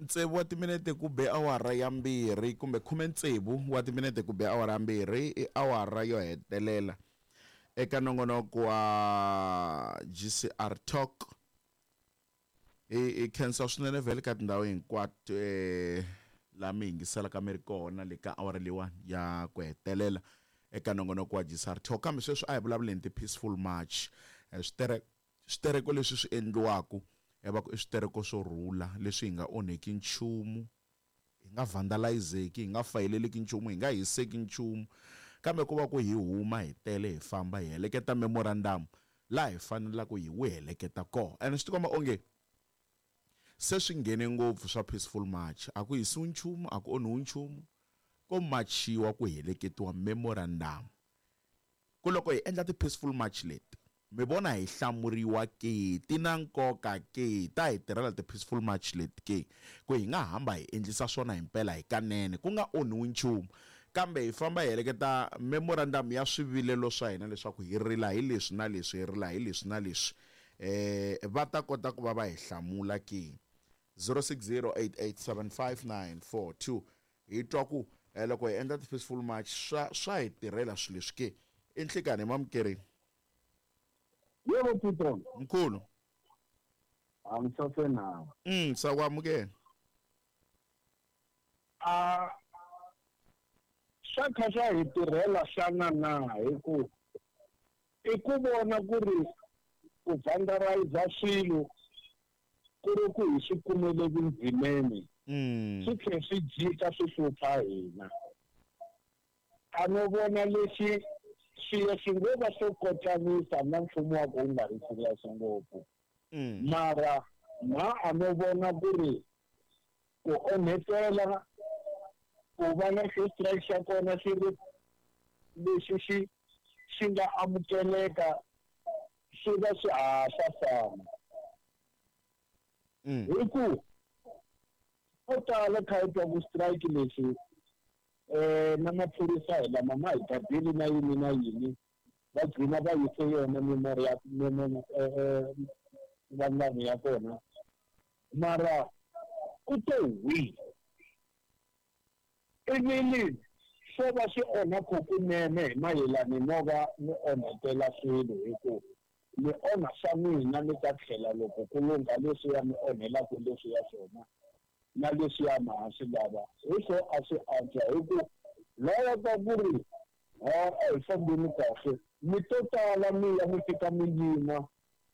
Tsevu wa timinete ku be awara ya 2 kumbe 16 wa timinete ku be awara ya 2 i awara yo hetelela eka nongonoko wa GCR Talk. Hi khensa swinene vhele ka tindhawu hinkwato laha mi yingiselaka mi ri kona le ka awara leyiwani ya ku hetelela eka nongonoko wa GCR Talk. Kambe sweswi a hi vulavuleni ti-peaceful march, switereko leswi swi endliwaka va ku i switereko swo rhula leswi hi nga onheki nchumu, hi nga vandalizeki, hi nga fayeleleki nchumu, hi nga hiseki nchumu, kambe ku va ku hi huma hi tele hi famba hi heleketa memorandum laha hi fanelaka hi wu heleketa kona. Ene swi tikomba onge se swi nghene ngopfu swa peaceful march, a ku hisiwi nchumu, a ku onhiwi nchumu, ko machiwa ku heleketiwa memorandum. Ku loko hi endla ti-peaceful march leti, mi vona hi hlamuriwa ke, ti na nkoka ke, ta hi tirhela ti-peaceful march leti ke, ku hi nga hamba hi endlisa swona himpela hi kanene, ku nga onhiwi nchumu, kambe hi famba hi heleketa memorandum ya swivilelo swa hina leswaku hi rila hi leswi na leswi, hi rila hi leswi na leswi, va ta kota ku va va hi hlamula ke. 0608875942 hi twa ku loko hi endla ti-peaceful march swa hi tirhela swilo leswi ke. I nhlikani hi mamukerini. Yebo Pitron. Mkhulu. Angisasenawe. Sakwamukela. A swa kha swa hi tirhela xana na hi ku i ku vona ku ri ku vandalize swilo ku ri ku hi swi kumele vundzimeni. Swi tlhe swi jika swi hlupha hina. A no vona lexi swilo swi ngo va swo kotlanisa na mfumo wa ku wu nga ri serious ngopfu. Mara ma a no vona ku ri ku onhetela ku va na xo strike xa kona xi ri lexi xi xi nga amukeleka swi va swi ha swa fana. Hi ku ko tala kha hi twa ku strike lexi na maphorisa hi lama ma hi gadile na yini na yini, va gcina va yise yona memorial vanhu ya kona, mara ku te hwi ivi swo va swi onha kunene hi mayelana no va mi onhetela swilo, hi ku mi onha swa n'wina mi ta tlhela loko ku lungha leswiya mi onhelaka leswiya swona na leswiya ma ha swi lava. Hi swo a swi antswa hi ku lava ka ku ri a hi fambeni kahle, mi to tala mi ya mi fika mi yima.